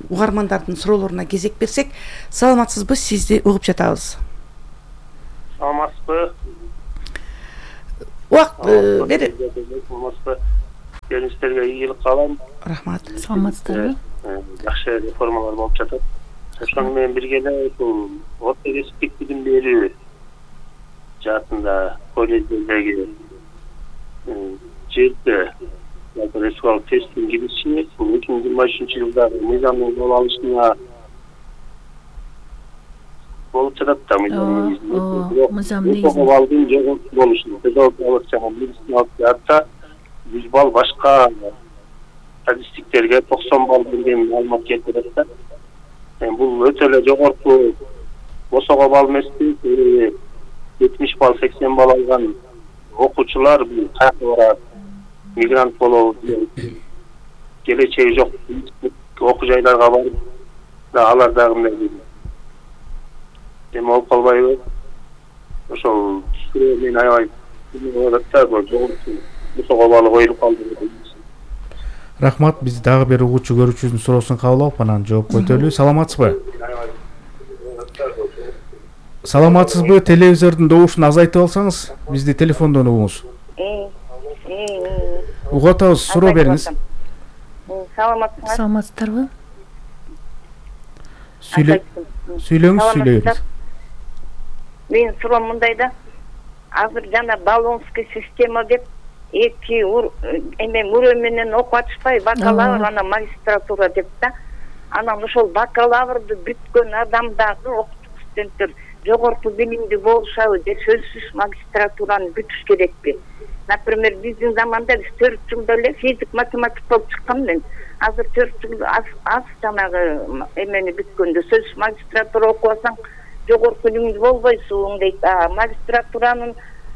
угармандардын суроолоруна кезек берсек, саламатсызбы, сизди угуп жатабыз. Саламатсызбы? Убакыт бери. Саламатсызбы? Келиңиздерге ийгилик каалайм. Рахмат. Саламатсыздарбы? Жакшы реформалар болуп жатат. Ошону менен бирге эле ушул орто кесиптик билим берүү жаатында колледждеги жерде республикалык тесттин кириши 2023-жылдагы мыйзамдын кол алышына болуп жатат да. Мыйзам негизинде балдын жогорку болушу, педагогикалык жана медициналык жаатта 100 балл, башка статистиктерге 90 балл берген маалымат келип жатат да. Бул өтө эле жогорку босого балл эмеспи, 70 балл, 80 балл алган окуучулар бул каяка барат, мигрант болобу, келечеги жок окуу жайларга барып, алар дагы мындай эме болуп калбайбы? Ошол түшүрүү менен аябай жогорку босого балл коюлуп калды. Рахмат, биз дагы бир угуучу көрүүчүбүздүн суроосун кабыл алып, анан жооп көтөрөлү. Саламатсызбы? Саламатсызбы? Телевизордун добушун азайтып алсаңыз, бизди телефондон угуңуз. Угуп атабыз, суроо бериңиз. Саламатсыздарбы? Сүйлөңүз, сүйлөйбүз. Менин суроом мындай да. Азыр жана баллонский система деп эки мурөө менен окуп атышпай, бакалавр анан магистратура деп да. Анан ошол бакалаврды бүткөн адамдарды окутук студенттер жогорку билимдүү болушабы же сөзсүз магистратураны бүтүш керекпи? Например, биздин заманда биз 4 жылда эле физик, математик болуп чыккан мен. Азыр 4 жыл аз жанагы эмени бүткөндө сөзсүз магистратура окубасаң жогорку билимдүү болбойсуң дейт. Магистратуранын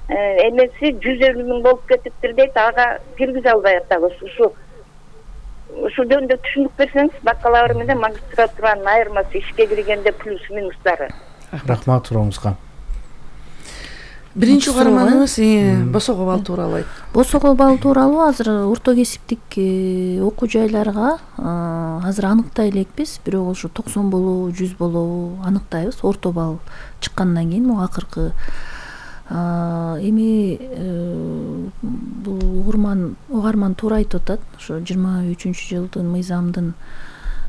эмеси 150 000 болуп кетиптир дейт, ага киргизе албай атабыз. Ушу жөнүндө түшүнүк берсеңиз, бакалавр менен магистратуранын айырмасы, ишке киргенде плюс минустары. Рахмат сурооңузга. Биринчи угарманыбыз босого балл тууралуу айт. Босого балл тууралуу азыр орто кесиптик окуу жайларга азыр аныктай элекпиз, бирок ошо 90 болобу, 100 болобу аныктайбыз орто балл чыккандан кийин. Могу акыркы эми бул угарман туура айтып атат. Ошо 23-жылдын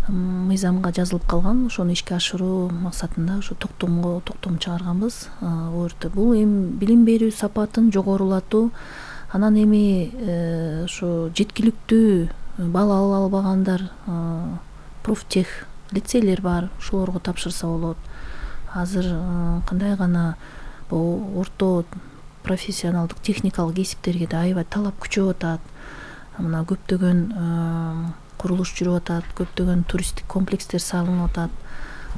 мыйзамга жазылып калган, ошону ишке ашыруу максатында ошо токтом чыгарганбыз. Орто бул эми билим берүү сапатын жогорулатуу, анан эми ошо жеткиликтүү балл ала албагандар профтех лицейлер бар, ошолорго тапшырса болот. азыр кандай гана бул орто профессионалдык техникалык кесиптерге да аябай талап күчөп атат. Мына көптөгөн курулуш жүрүп атат, көптөгөн туристтик комплекстер салынып атат.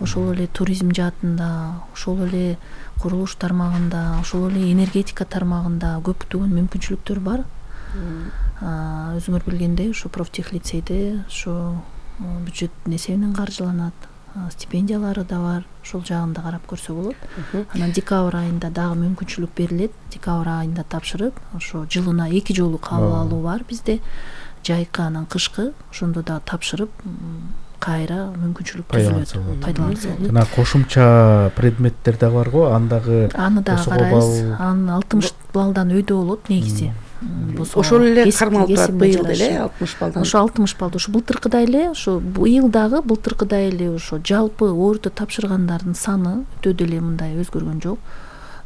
Ошол эле туризм жаатында, ошол эле курулуш тармагында, ошол эле энергетика тармагында көптөгөн мүмкүнчүлүктөр бар. Өзүңөр билгендей, ушу профтехлицейде ушу бюджет эсебинен каржыланат, стипендиялары да бар. Ошол жагын да карап көрсө болот. Анан декабрь айында дагы мүмкүнчүлүк берилет. Декабрь айында тапшырып, ошо жылына 2 жолу кабыл алуу бар бизде. Жайкы анан кышкы, ошондо да тапшырып кайра мүмкүнчүлүк түзүлөт, пайдаланса болот. Жана кошумча предметтер да бар го, аны дагы карайбыз. Аны 60 баллдан өйдө болот негизи. Ошол эле кармалып турат быйыл деле 60 баллдан. Ошо 60 баллды, ошо былтыркыдай эле, ошо быйылдагы былтыркыдай эле ошо жалпы орто тапшыргандардын саны өтө деле мындай өзгөргөн жок.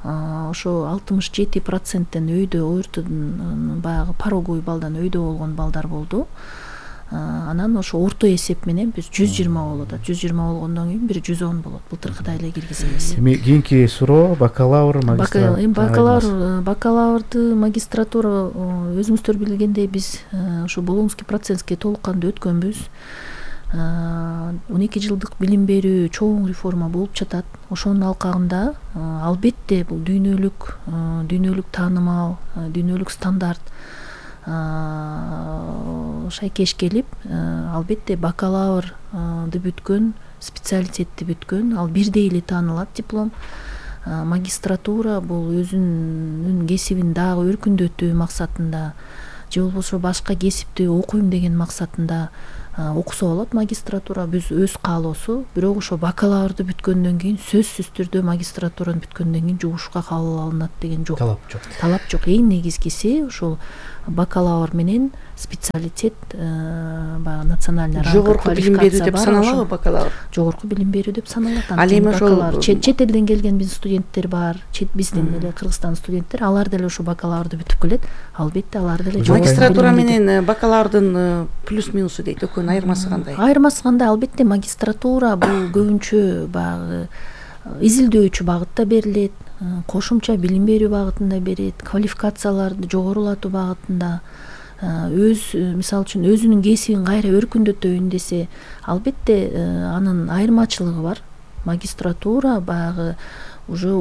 Ошо 67%тен өйдө ортодон баягы пороговый балдан өйдө болгон балдар болду. Анан ошо орто эсеп менен биз 120 болот. 120 болгондон кийин 110 болот. Былтыркыдай эле киргизебиз. Эми кийинки суроо бакалавр, магистратура. Бакалаврды, магистратура өзүңүздөр билгендей биз ошо Болонский процесске толук кандуу өткөнбүз. 12 жылдык билим берүү чоң реформа болуп жатат. Ошонун алкагында албетте бул дүйнөлүк таанымал, дүйнөлүк стандарт шайкеш келип, албетте бакалаврды бүткөн, специалитетти бүткөн, ал бирдей эле таанылат диплом. Магистратура бул өзүнүн кесибин дагы өркүндөтүү максатында же болбосо башка кесипти окуйм деген максатында окуса болот магистратура, биз өз каалоосу. Бирок ошо бакалаврды бүткөндөн кийин сөзсүз түрдө магистратураны бүткөндөн кийин жугушка кабыл алынат деген жок. Талап жок. Эң негизгиси ошол бакалавр менен специалитет, баягы национальный жогорку билим берүү деп саналабы бакалавр? Жогорку билим берүү деп саналат. Ал эми ошол чет элден келген биздин студенттер бар, биздин эле Кыргызстан студенттер, алар деле ошо бакалаврды бүтүп келет. Албетте алар деле магистратура менен бакалаврдын плюс минусу дейт, экөөнүн айырмасы кандай? Айырмасы кандай? Албетте магистратура бул көбүнчө баягы изилдөөчү багытта берилет, кошумча билим берүү багытында берет, квалификацияларды жогорулатуу багытында, мисалы үчүн өзүнүн кесибин кайра өркүндөтөйүн десе, албетте анын айырмачылыгы бар. Магистратура баягы уже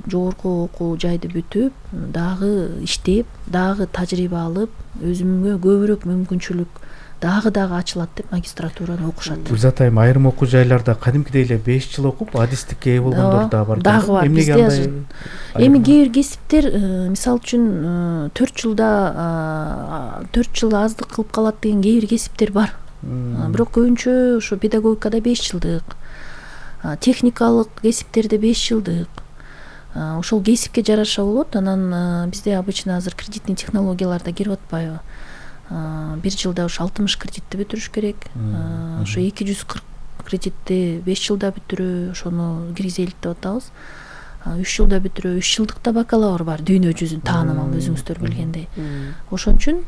жогорку окуу жайды бүтүп, дагы иштеп, дагы тажрыйба алып, өзүмгө көбүрөөк мүмкүнчүлүк дагы ачылат деп магистратураны окушат. Гүлзат айым, айрым окуу жайларда кадимкидей эле 5 жыл окуп, адистикке ээ болгондор да бар. Дагы бар. Эми кээ бир кесиптер, мисалы үчүн 4 жыл аздык кылып калат деген кээ бир кесиптер бар. Бирок көбүнчө ошо педагогикада 5 жылдык, техникалык кесиптерде 5 жылдык. Ошол кесипке жараша болот. Анан бизде обычно азыр кредитный технологияларда кирип атпайбы? 1 жылда ошо 60 кредитти бүтүрүш керек. Ошо 240 кредитти 5 жылда бүтүрүү, ошону киргизелик деп атабыз. 3 жылда бүтүрүү, 3 жылдыкта бакалавр бар, дүйнө жүзүн таанымал, өзүңүздөр билгендей. Ошон үчүн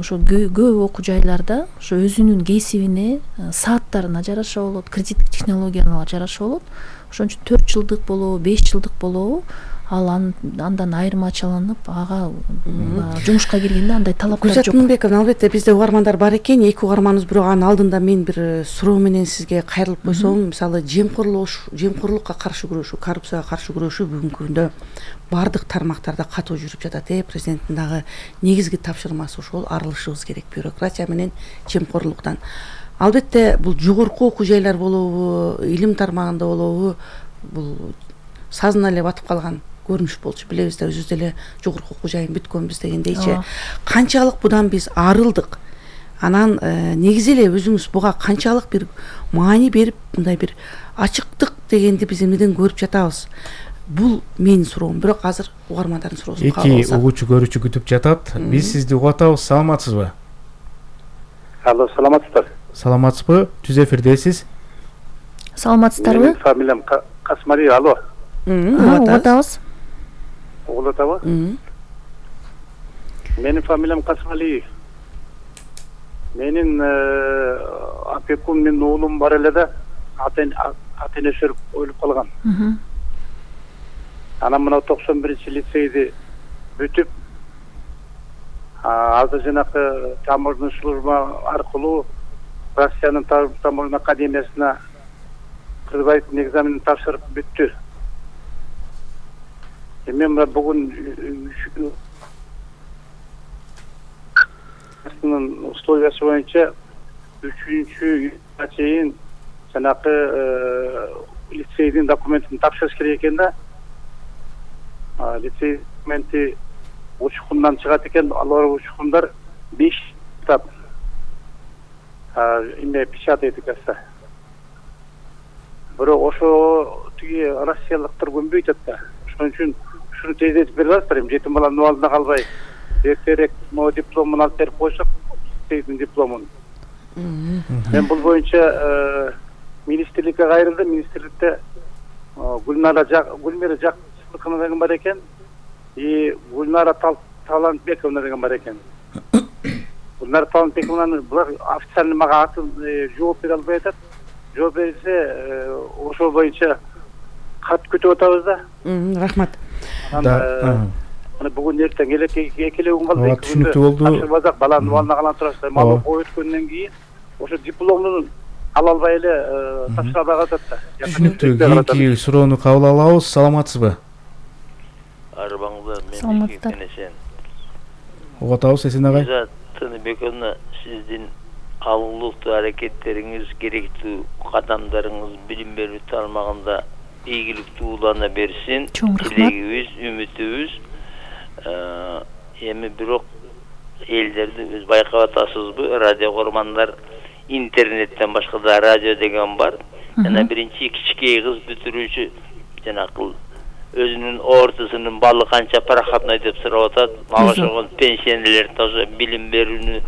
ошо көп окуу жайларда ошо өзүнүн кесибине, сааттарына жараша болот, кредиттик технологияларга жараша болот. Ошон үчүн 4 жылдык болобу, 5 жылдык болобу, ал андан айырмачыланып, ага жумушка киргенде андай талаптар жок. Гүлзат, албетте бизде угармандар бар экен. 2 угарманыбыз, бирок анын алдында мен бир суроо менен сизге кайрылып койсом, мисалы жемкорлукка каршы күрөшүү, коррупцияга каршы күрөшүү бүгүнкү күндө бардык тармактарда катуу жүрүп жатат. Президенттин дагы негизги тапшырмасы ошол, арылышыбыз керек бюрократия менен жемкорлуктан. Албетте бул жогорку окуу жайлар болобу, илим тармагында болобу, бул сазына эле батып калган көрүнүш болчу. Билебиз да, өзүбүз деле жогорку окуу жайын бүткөнбүз дегендейчи. Канчалык будан биз арылдык? Анан негизи эле өзүңүз буга канчалык бир маани берип, мындай бир ачыктык дегенди биз эмнеден көрүп жатабыз? Бул менин суроом. Бирок азыр угармандардын суроосун кабыл алсак. 2 угуучу көрүүчү күтүп жатат. Биз сизди угуп атабыз. Саламатсызбы? Алло, саламатсыздар. Саламатсызбы? Түз эфирдесиз. Саламатсыздарбы? Менин фамилиям Касмали. Алло. Угуп атабыз. Угуп атабы? Менин фамилиям Касмали. Менин опекун, менин уулум бар эле да, ата энеси өлүп калган. Анан мына 91 лицейди бүтүп, азыр жанакы таможня служба аркылуу Россиянын таможня академиясына предварительный экзаменин тапшырып бүттү. Мен бүгүн условиясы боюнча 3-июнга чейин жанакы лицейдин документин тапшырыш керек экен да. Лицей документи учкундан чыгат экен, алар учкундар 5 китап печатает экен. Бирок ошо тиги россиялыктар көнбөйт да. Ошон үчүн ушуну тездетип берип атасыздар, жетим баланын абалына калбай. Эртерээк могу дипломун алып берип койсок, лицейдин дипломун. Мен бул боюнча министрликке кайрылдым. Министрликте Гүлмира Жаксыбекова деген бар экен. Гүлнара Талантбековна деген бар экен. Гүлнара Талантбековнаны булар официально мага жооп бере албай атат. Жооп берсе, ошол боюнча кат күтүп атабыз да. Рахмат. Мына бүгүн эртең эле экеле күн калды. Түшүнүктүү болду. Тапшырбасак баланын абалына калан турасыздар. Мага ой өткөндөн кийин ошо дипломун ала албай эле тапшыра албай калат да. Түшүнүктүү. Кийинки суроону кабыл алабыз. Саламатсызбы? Арбаңызда мен Кенесен. Угатабыз Эсен агай. Тыныбековна, сиздин алгылыктуу аракеттериңиз, керектүү кадамдарыңыз билим берүү тармагында ийгиликтүү улана берсин. Тилегибиз, үмүтүбүз. Эми бирок элдерди өз байкап атасызбы? Радио көрмандар интернеттен башка да радио деген бар. Жана биринчи кичикей кыз бүтүрүүчү жанакы өзүнүн ортосунун балы канча проходной деп сурап атат. Мага ошого пенсионерлер тоже билим берүүнү